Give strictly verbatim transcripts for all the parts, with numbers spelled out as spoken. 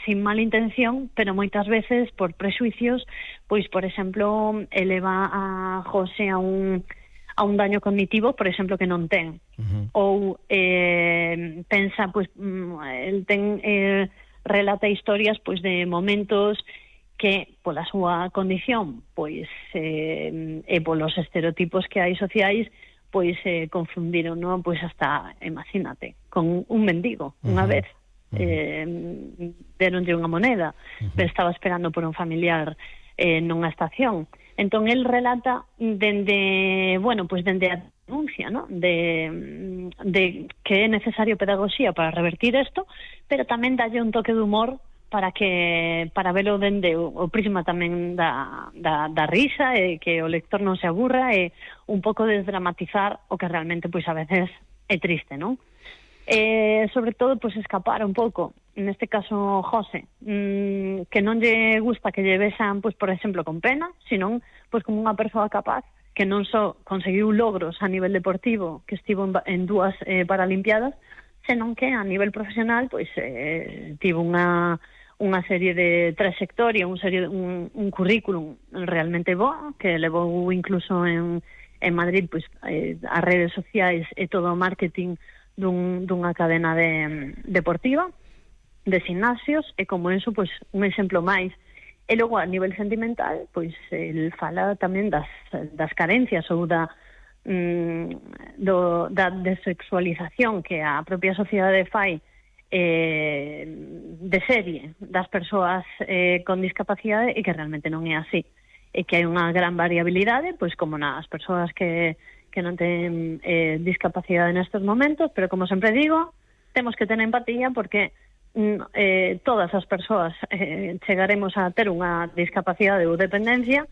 sin mala intención, pero moitas veces por prexuicios, pois, por exemplo, eleva a José a un a un daño cognitivo, por exemplo, que non ten. Uh-huh. Ou eh, pensa, pois, el ten, eh, relata historias, pois, de momentos que, pola súa condición, pois, eh, e polos estereotipos que hai sociais, pois, eh, confundiron, non? Pois, hasta, imagínate, con un mendigo, unha uh-huh. vez, eh, deronlle unha moneda, uh-huh. pero estaba esperando por un familiar eh, nunha estación. Entón, el relata dende, bueno, pues dende a denuncia, ¿no? De, de que é necesario pedagogía para revertir isto, pero tamén dalle un toque de humor para que para velo dende o, o prisma tamén da, da, da risa, e que o lector non se aburra, e un pouco desdramatizar o que realmente, pois, a veces é triste, non? Eh, sobre todo, pois, escapar un pouco, neste caso José, mmm, que non lle gusta que lle vexan, pois, por exemplo, con pena, senón, pois, como unha persoa capaz que non só conseguiu logros a nivel deportivo, que estivo en, en dúas eh, Paralimpiadas, senón que a nivel profesional, pois, eh, tivo unha unha serie de trayectoria, un, serie, un, un currículum realmente boa, que levou incluso en, en Madrid, pois, eh, as redes sociais e todo o marketing dun, dunha cadena de, deportiva de gimnasios, e como eso, pois, un exemplo máis. E logo, a nivel sentimental, pois, el fala tamén das, das carencias ou da, mm, do, da desexualización que a propia sociedade fai eh, de serie das persoas eh, con discapacidade, e que realmente non é así, e que hai unha gran variabilidade, pois, como nas persoas que que non ten eh, discapacidade nestes momentos, pero, como sempre digo, temos que ter empatía, porque mm, eh, todas as persoas eh, chegaremos a ter unha discapacidade ou dependencia,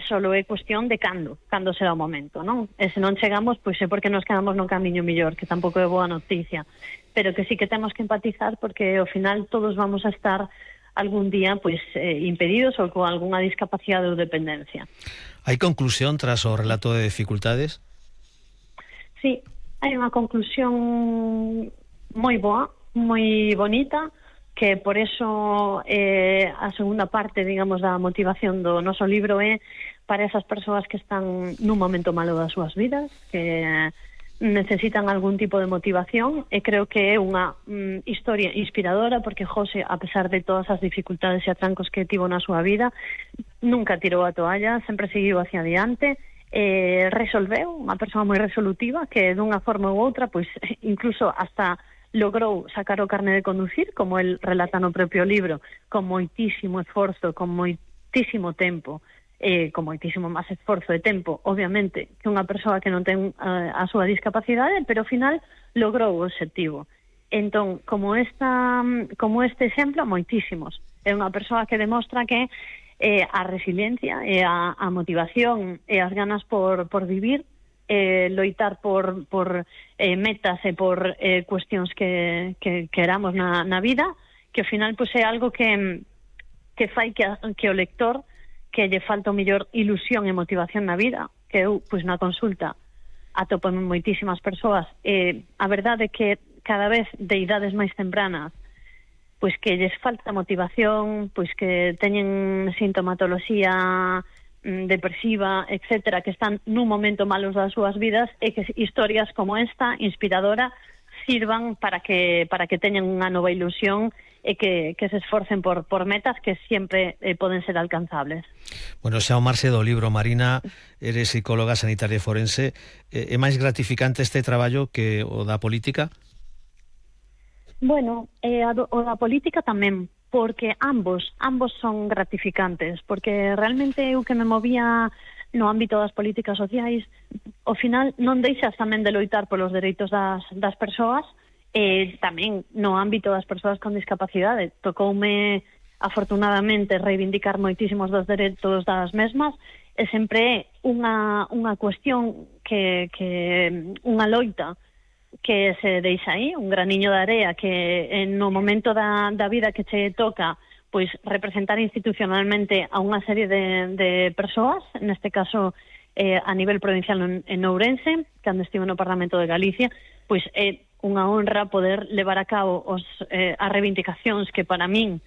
solo é cuestión de cando, cando será o momento, non? E se non chegamos, pois é porque nos quedamos no camiño millor, que tampouco é boa noticia, pero que sí que temos que empatizar, porque ao final todos vamos a estar algún día, pois, eh, impedidos ou con algunha discapacidade ou dependencia. Hai conclusión tras o relato de dificultades? Sí, hai unha conclusión moi boa, moi bonita, que por eso eh, a segunda parte, digamos, da motivación do noso libro é para esas persoas que están nun momento malo das súas vidas, que necesitan algún tipo de motivación, e creo que é unha mm, historia inspiradora, porque José, a pesar de todas as dificultades e atrancos que tivo na súa vida, nunca tirou a toalla, sempre seguiu hacia adiante, eh, resolveu, unha persoa moi resolutiva, que dunha forma ou outra, pois, incluso hasta logrou sacar o carné de conducir, como el relata no propio libro, con moitísimo esforzo, con moitísimo tempo, eh, con moitísimo máis esforzo de tempo, obviamente, que unha persoa que non ten uh, a súa discapacidade, pero ao final logrou o obxectivo. Entón, como esta, como este exemplo, moitísimos. É unha persoa que demostra que eh, a resiliencia e a, a motivación e as ganas por, por vivir, eh, loitar por, por eh, metas e por eh, cuestións que, que queramos na, na vida, que ao final, pois, é algo que, que fai que, a, que o lector, que lle falta o mellor ilusión e motivación na vida, que eu, pois, na consulta atopo moitísimas persoas, e a verdade é que cada vez de idades máis tempranas, pois, que lles falta motivación, pois, que teñen sintomatoloxía mm, depresiva, etcétera, que están nun momento malos das súas vidas, e que historias como esta, inspiradora, sirvan para que para que teñan unha nova ilusión, e que, que se esforcen por, por metas que sempre eh, poden ser alcanzables. Bueno, xa o marxe do libro, Marina, eres psicóloga sanitaria e forense. É máis gratificante este traballo que o da política? Bueno, eh, o da política tamén, porque ambos, ambos son gratificantes, porque realmente eu que me movía no ámbito das políticas sociais, ao final non deixas tamén de loitar polos dereitos das, das persoas, e tamén no ámbito das persoas con discapacidade. Tocoume, afortunadamente, reivindicar moitísimos dos dereitos das mesmas, e sempre é unha, unha cuestión que, que unha loita que se deixa aí, un graniño de area que en no momento da, da vida que che toca, pois, representar institucionalmente a unha serie de, de persoas, neste caso eh, a nivel provincial en, en Ourense, cando estivo no Parlamento de Galicia, pois é unha honra poder levar a cabo os, eh, as reivindicacións que para min